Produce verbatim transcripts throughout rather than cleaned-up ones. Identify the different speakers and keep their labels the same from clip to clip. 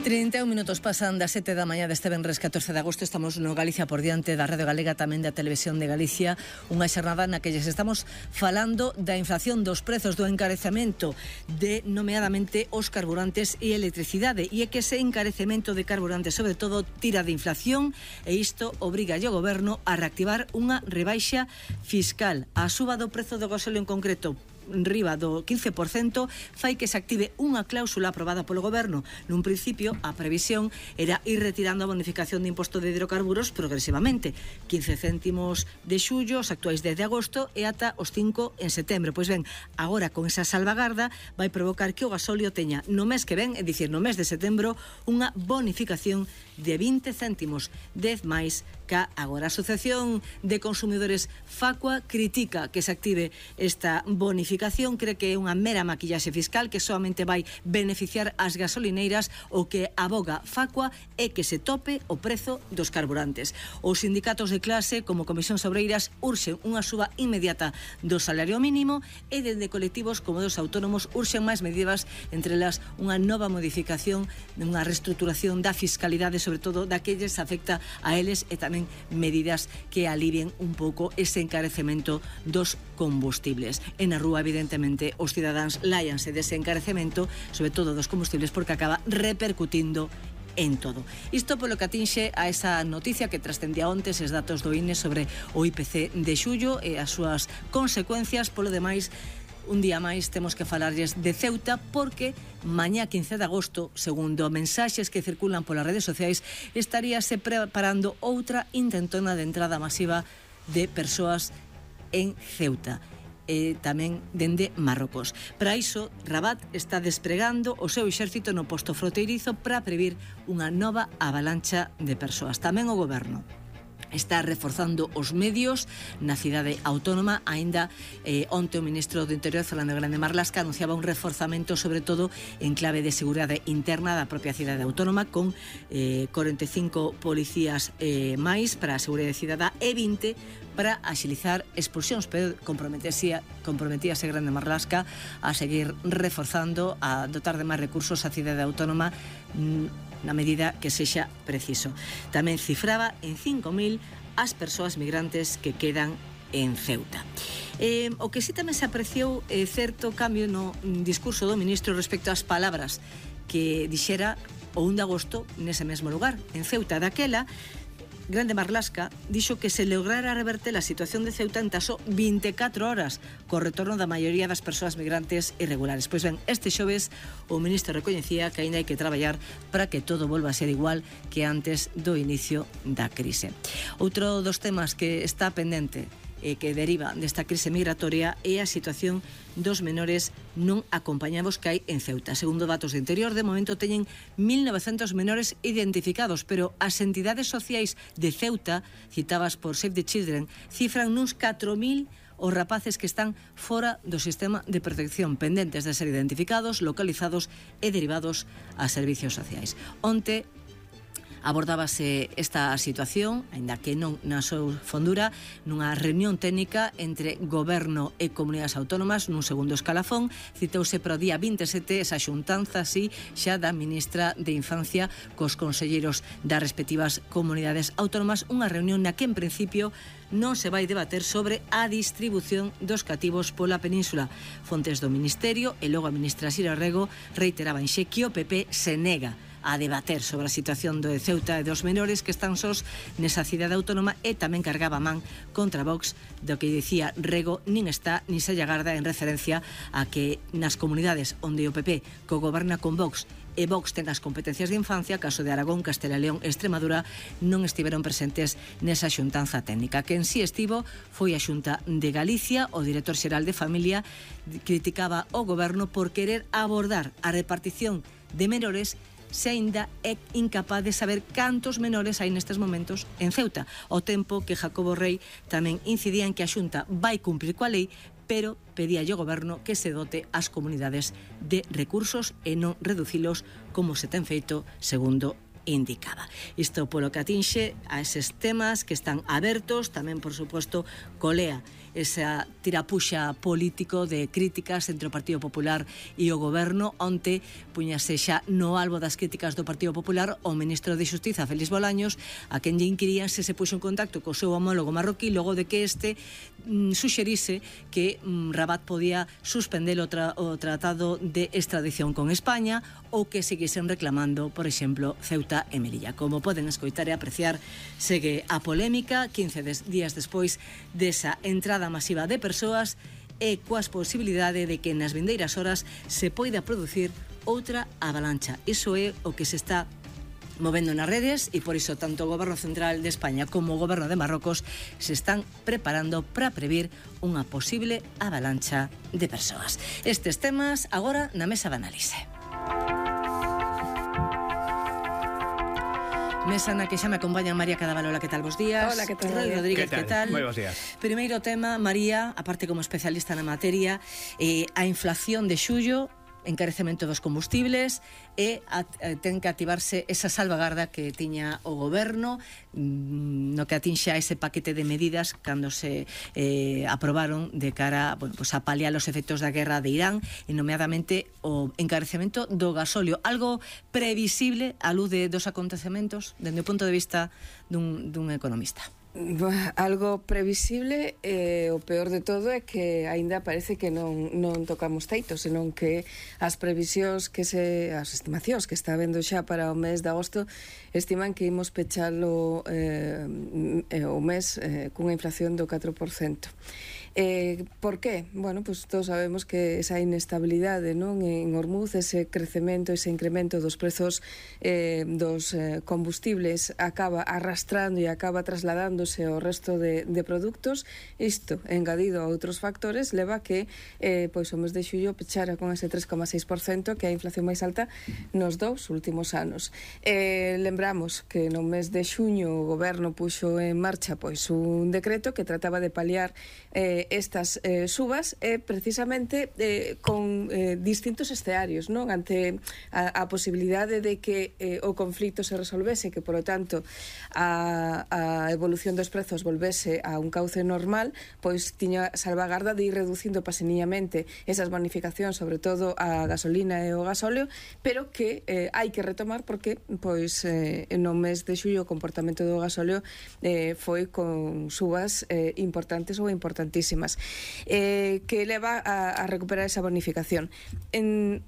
Speaker 1: trinta e un minutos pasan das sete da mañá deste venres catorce de agosto. Estamos no Galicia por diante da Radio Galega, tamén da Televisión de Galicia. Unha xornada na que lles estamos falando da inflación, dos prezos, do encarecemento de, nomeadamente, os carburantes e electricidade. E é que ese encarecemento de carburantes, sobre todo, tira de inflación, e isto obriga o goberno a reactivar unha rebaixa fiscal. A suba do prezo do gasóleo en concreto, riba do quince por cento, fai que se active unha cláusula aprobada polo goberno. Nun principio, a previsión era ir retirando a bonificación de imposto de hidrocarburos progresivamente, quince céntimos de xullo, os actuais dez de agosto e ata os cinco en setembro. Pois ben, agora con esa salvagarda vai provocar que o gasóleo teña no mes que ven, é dicir, no mes de setembro, unha bonificación de vinte céntimos, dez máis ca agora. A Asociación de Consumidores Facua critica que se active esta bonificación, cree que é unha mera maquillaxe fiscal que solamente vai beneficiar as gasolineiras. O que aboga Facua é que se tope o prezo dos carburantes. Os sindicatos de clase, como Comisións Obreiras, urxen unha suba inmediata do salario mínimo, e dende colectivos como dos autónomos urxen máis medidas, entre elas unha nova modificación, unha reestruturación da fiscalidade, sobre todo daqueles afecta a eles, e tamén medidas que alivien un pouco ese encarecemento dos combustibles. E na rúa, evidentemente, os cidadáns láianse dese encarecemento, sobre todo dos combustibles, porque acaba repercutindo en todo. Isto polo que atinxe a esa noticia que trascendía onte, eses datos do I N E sobre o I P C de xullo e as súas consecuencias. Polo demais, un día máis temos que falarlles de Ceuta, porque mañá quince de agosto, segundo mensaxes que circulan polas redes sociais, estaríase preparando outra intentona de entrada masiva de persoas en Ceuta, e tamén dende Marrocos. Para iso, Rabat está despregando o seu exército no posto fronteirizo para previr unha nova avalancha de persoas. Tamén o goberno está reforzando os medios na cidade autónoma. Aínda eh, onte o ministro do Interior, Fernando Grande Marlaska, anunciaba un reforzamento, sobre todo en clave de seguridade interna da propia cidade autónoma, con eh, cuarenta e cinco policías eh, máis para a seguridade cidadá e vinte para axilizar expulsións, pero comprometíase, comprometíase Grande Marlaska a seguir reforzando, a dotar de máis recursos a cidade autónoma na medida que sexa preciso. Tamén cifraba en cinco mil as persoas migrantes que quedan en Ceuta. Eh, o que sí tamén se apreciou é certo cambio no discurso do ministro respecto ás palabras que dixera o un de agosto nese mesmo lugar, en Ceuta. Daquela, Grande Marlaska dixo que se lograra reverter a situación de Ceuta en tan só vinte e catro horas, co retorno da maioría das persoas migrantes irregulares. Pois ben, este xoves o ministro recoñecía que aínda hai que traballar para que todo volva a ser igual que antes do inicio da crise. Outro dos temas que está pendente e que deriva desta crise migratoria é a situación dos menores non acompañados que hai en Ceuta. Segundo datos de Interior, de momento teñen mil novecentos menores identificados, pero as entidades sociais de Ceuta, citadas por Save the Children, cifran nuns catro mil os rapaces que están fora do sistema de protección, pendentes de ser identificados, localizados e derivados a servicios sociais. Onte abordábase esta situación, aínda que non na súa fondura, nunha reunión técnica entre Goberno e Comunidades Autónomas, nun segundo escalafón. Citouse para o día vinte e sete esa xuntanza, así, xa da ministra de Infancia cos conselleiros das respectivas comunidades autónomas, unha reunión na que, en principio, non se vai debater sobre a distribución dos cativos pola península. Fontes do Ministerio e logo a ministra Sira Rego reiteraban xe que o P P se nega a debater sobre a situación do Ceuta e dos menores que están sós nesa cidade autónoma, e tamén cargaba man contra Vox, do que dicía Rego nin está ni se agarda, en referencia a que nas comunidades onde o P P cogoberna con Vox e Vox ten as competencias de infancia, caso de Aragón, Castela e León e Extremadura, non estiveron presentes nesa xuntanza técnica. Que en sí estivo foi a Xunta de Galicia. O director xeral de Familia criticaba o goberno por querer abordar a repartición de menores se aínda é incapaz de saber cantos menores hai nestes momentos en Ceuta, ao tempo que Jacobo Rei tamén incidía en que a Xunta vai cumprir coa lei, pero pedía ao goberno que se dote as comunidades de recursos e non reducilos como se ten feito segundo indicaba. Isto polo que atinxe a eses temas que están abertos, tamén, por suposto, colea esa tirapuxa político de críticas entre o Partido Popular e o Goberno. Onte puñase xa no albo das críticas do Partido Popular o ministro de Xustiza, Félix Bolaños, a quen lle inquirían se se puxo en contacto co seu homólogo marroquí logo de que este mm, suxerise que mm, Rabat podía suspender o, tra o tratado de extradición con España ou que seguisen reclamando, por exemplo, Ceuta e Melilla. Como poden escoitar e apreciar, segue a polémica quince días despois desa entrada masiva de persoas e coas posibilidade de que nas vindeiras horas se poida producir outra avalancha. Iso é o que se está movendo nas redes e por iso tanto o Goberno Central de España como o Goberno de Marrocos se están preparando para previr unha posible avalancha de persoas. Estes temas agora na mesa de análise. Mesa na que xa me acompaña María Cadavalola, que tal, bos días?
Speaker 2: Hola, que tal?
Speaker 1: Roy Rodríguez, que tal?
Speaker 3: Moi bos días.
Speaker 1: Primeiro tema, María, aparte como especialista na materia, eh, a inflación de xullo, encarecemento dos combustibles e a, a, ten que activarse esa salvagarda que tiña o Goberno mm, no que atinxe a ese paquete de medidas cando se eh, aprobaron de cara, bueno, pues a paliar os efectos da guerra de Irán e nomeadamente o encarecemento do gasóleo, algo previsible á luz de dos acontecementos dende o punto de vista dun, dun economista.
Speaker 2: Algo previsible, e eh, o peor de todo é que aínda parece que non, non tocamos teito, senón que as previsións que se, as estimacións que está vendo xa para o mes de agosto estiman que imos pechalo eh, o mes eh, cunha inflación do catro por cento. Eh, por qué? Bueno, pues todos sabemos que esa inestabilidade, non, en Hormuz, ese crecemento, ese incremento dos prezos eh, dos eh, combustibles acaba arrastrando e acaba trasladándose ao resto de, de produtos. Isto, engadido a outros factores, leva que eh, pois o mes de xullo pechara con ese tres coma seis por cento, que é a inflación máis alta nos dous últimos anos. Eh, lembramos que no mes de xuño o Goberno puxo en marcha pois un decreto que trataba de paliar eh, estas eh, subas e eh, precisamente eh, con eh, distintos escenarios, non? Ante a, a posibilidade de que eh, o conflito se resolvese, que, por lo tanto, a, a evolución dos prezos volvese a un cauce normal, pois tiña salvagarda de ir reducindo paseniñamente esas bonificacións, sobre todo a gasolina e o gasóleo, pero que eh, hai que retomar porque pois eh, no mes de xullo o comportamento do gasóleo eh, foi con subas eh, importantes ou importantísimas. Eh, que leva a, a recuperar esa bonificación. En,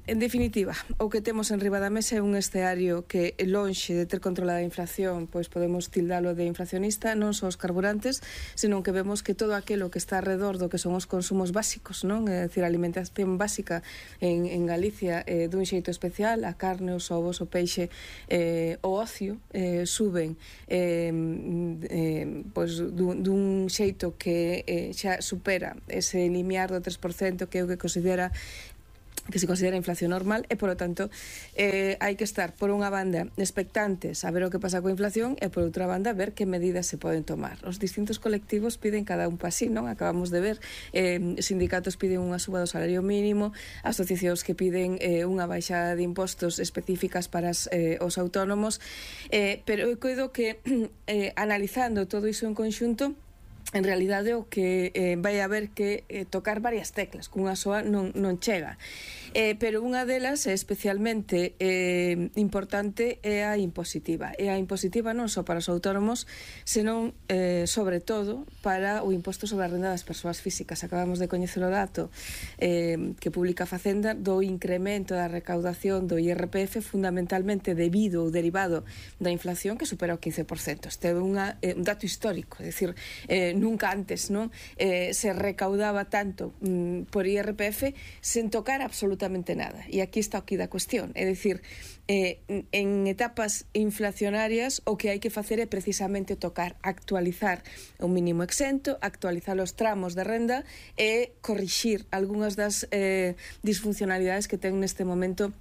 Speaker 2: en definitiva, o que temos en riba da mesa é un escenario que lonxe de ter controlada a inflación, pois podemos tildalo de inflacionista, non só os carburantes, senón que vemos que todo aquilo que está alrededor do que son os consumos básicos, non? É dicir, a alimentación básica en, en Galicia eh, dun xeito especial, a carne, os ovos, o peixe, eh, o ocio, eh, suben eh, eh, pois dun, dun xeito que eh, xa supera ese limiar do tres por cento que é o que considera que se considera inflación normal e, polo tanto, eh, hai que estar, por unha banda, expectantes a ver o que pasa coa inflación e, por outra banda, ver que medidas se poden tomar. Os distintos colectivos piden cada un pasín, non? Acabamos de ver, eh, sindicatos piden unha suba do salario mínimo, asociacións que piden eh, unha baixada de impostos específicas para as, eh, os autónomos, eh, pero eu coido que, eh, analizando todo iso en conxunto, en realidade o que eh, vai haber que eh, tocar varias teclas, cunha soa non, non chega. Eh, pero unha delas é especialmente eh, importante é a impositiva. E a impositiva non só para os autónomos, senón, eh, sobre todo, para o imposto sobre a renda das persoas físicas. Acabamos de coñecer o dato eh, que publica a Facenda do incremento da recaudación do I R P F fundamentalmente debido ou derivado da inflación que supera o quince por cento. Este é unha, eh, un dato histórico, é dicir, eh, nunca antes, non, eh, se recaudaba tanto mm, por I R P F sen tocar absolutamente nada. E aquí está o que da cuestión, é dicir, eh, en etapas inflacionarias o que hai que facer é precisamente tocar, actualizar o mínimo exento, actualizar os tramos de renda e corrixir algunhas das eh, disfuncionalidades que ten neste momento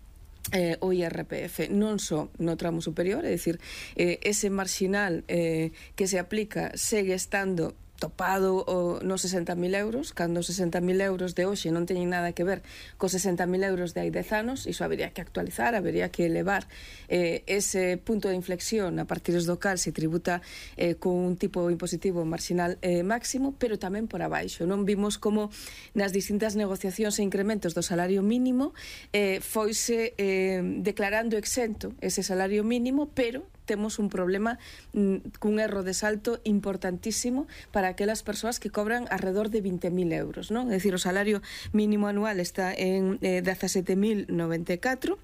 Speaker 2: Eh, o I R P F, non só no tramo superior, é dicir, eh, ese marxinal eh, que se aplica segue estando topado o, nos sesenta mil euros, cando os sesenta mil euros de hoxe non teñen nada que ver cos sesenta mil euros de hai dez anos. Iso habería que actualizar, habería que elevar eh, ese punto de inflexión a partir do cal se tributa eh, con un tipo impositivo marginal eh, máximo, pero tamén por abaixo. Non vimos como nas distintas negociacións e incrementos do salario mínimo eh, foise eh, declarando exento ese salario mínimo, pero temos un problema mm, cun erro de salto importantísimo para aquelas persoas que cobran alrededor de vinte mil euros, non? É dicir, o salario mínimo anual está en eh, dezasete mil noventa e catro.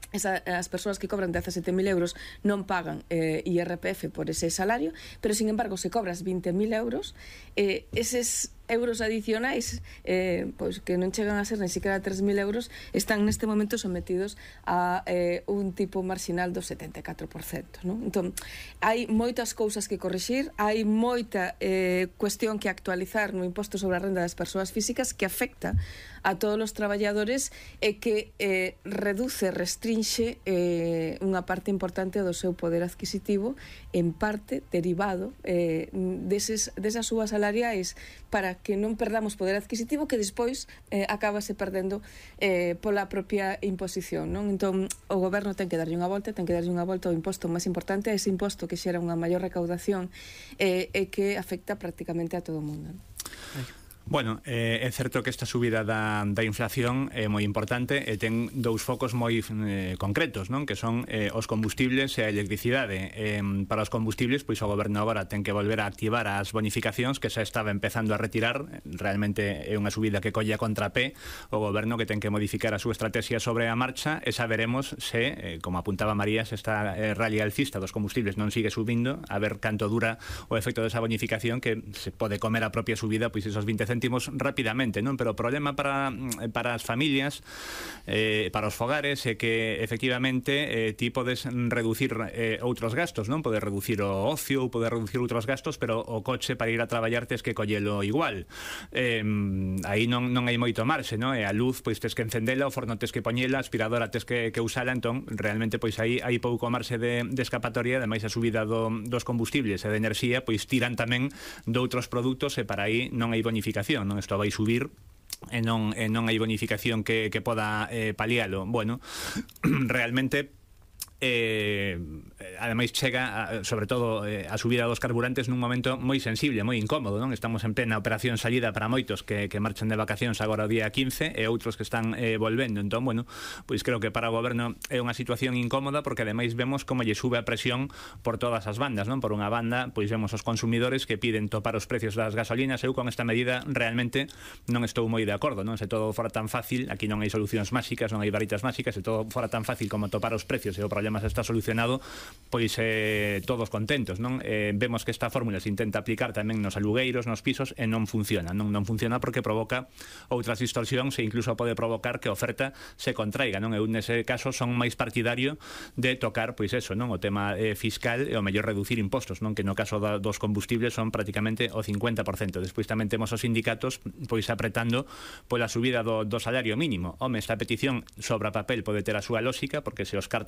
Speaker 2: Esa, as persoas que cobran dezasete mil euros non pagan eh, I R P F por ese salario, pero sin embargo se cobras vinte mil euros, eh, eses euros adicionais eh, pois que non chegan a ser ni siquiera tres mil euros están neste momento sometidos a eh, un tipo marginal do setenta e catro por cento, non? Entón, hai moitas cousas que corrixir, hai moita eh, cuestión que actualizar no imposto sobre a renda das persoas físicas que afecta a todos os traballadores e que eh, reduce, restrinxe eh, unha parte importante do seu poder adquisitivo, en parte derivado eh, deses, desas subas salariais, para que non perdamos poder adquisitivo que despois eh, acabase perdendo eh, pola propia imposición, non? Entón, o goberno ten que darlle unha volta, ten que darlle unha volta ao imposto máis importante, a ese imposto que xera unha maior recaudación eh, e que afecta prácticamente a todo o mundo, non?
Speaker 3: Bueno, eh, é certo que esta subida da, da inflación é moi importante e ten dous focos moi eh, concretos, non? Que son eh, os combustibles e a electricidade. Eh, para os combustibles, pois o goberno agora ten que volver a activar as bonificacións que xa estaba empezando a retirar. Realmente é unha subida que colle a contrapé o goberno, que ten que modificar a súa estrategia sobre a marcha, e xa veremos se, eh, como apuntaba María, se esta eh, rally alcista dos combustibles non sigue subindo, a ver canto dura o efecto desa bonificación, que se pode comer a propia subida, pois esos vinte céntimos rapidamente, non? Pero o problema para, para as familias, eh, para os fogares, é que efectivamente eh, ti podes reducir eh, outros gastos, non? Podes reducir o ocio ou podes reducir outros gastos, pero o coche para ir a traballar tes que collelo igual. Eh, aí non, non hai moito marxe, non? E a luz, pois tes que encendela, o forno tes que poñela, a aspiradora tes que, que usala, entón realmente pois aí hai pouco marxe de, de escapatoria. Ademais, a subida do, dos combustibles e de enerxía pois tiran tamén de outros produtos, e para aí non hai bonificación, non? Isto vai subir e non, e non hai bonificación que, que poda eh, palialo. Bueno, realmente eh, ademais chega a, sobre todo eh, a subida dos carburantes nun momento moi sensible, moi incómodo, non? Estamos en plena operación salida para moitos que, que marchan de vacacións agora o día quince e outros que están eh, volvendo. Entón, bueno, pois creo que para o goberno é unha situación incómoda, porque ademais vemos como lle sube a presión por todas as bandas, non? Por unha banda, pois vemos os consumidores que piden topar os precios das gasolinas. Eu con esta medida realmente non estou moi de acordo, non? Se todo fora tan fácil, aquí non hai solucións máxicas, non hai varitas máxicas, se todo fora tan fácil como topar os precios e o problema se está solucionado, pois eh, todos contentos, non? Eh, vemos que esta fórmula se intenta aplicar tamén nos alugueiros, nos pisos, e non funciona, non, non funciona porque provoca outras distorsións e incluso pode provocar que a oferta se contraiga, non? Eu nese caso son máis partidario de tocar, pois eso, non? O tema eh, fiscal e o mellor reducir impostos, non? Que no caso da, dos combustibles son prácticamente o cincuenta por cento. Despois tamén temos os sindicatos pois apretando pola subida do, do salario mínimo. Home, esta petición sobre a papel pode ter a súa lógica, porque se os cartos